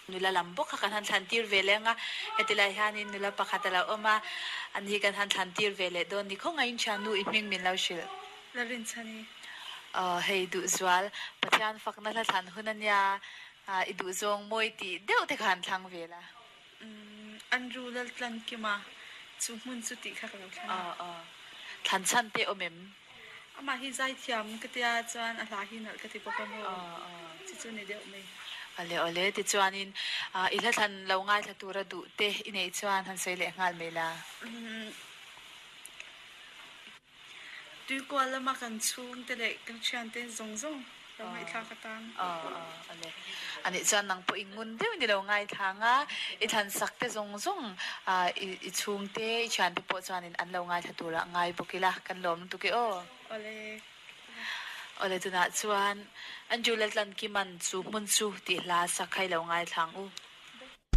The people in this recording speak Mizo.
Nula lam bawk kha kan han thlan tir ve leh ang a, heti lai hianin nula pakhat a lo awm a, ani hi kan han thlan tir ve leh dawn ni khawngaihin thiannu i hming min lo hrilh. La rinchhani. Aw hei Duhzual, Pathian fakna hla thlan hun a nia, i duhzawng mawi tih deuh te kha han thlang ve la. Umm Andrew Laltlankima chu hmun chu tih kha ka lo thlang a. Aw aw. Thlan chhan te awm em? Amah hi zaithiam ka tia chuan a hla hi nalh ka ti bawk a maw? Chi chu ni deuh mai. Awle awle tichuanin i hla thlan lo ngaithla tura duh te i neih chuan han sawi leh nghal mai la. Tuikual lama kan chhungte leh kan thiante zawng zawng lo ngaihthlak atan. Aw aw awle. Anih chuan nang pawh i ngun deuh ni lo ngaithlang a, i thlan sak te zawng zawng i chhungte i thiante pawh chuanin an lo ngaithla turah ngai bawk ila kan lawm lutuk e aw. Awle. Awle tunah chuan Andrew Laltlankiman chu hmun chu tih hla sak kha i lo ngaithlang u.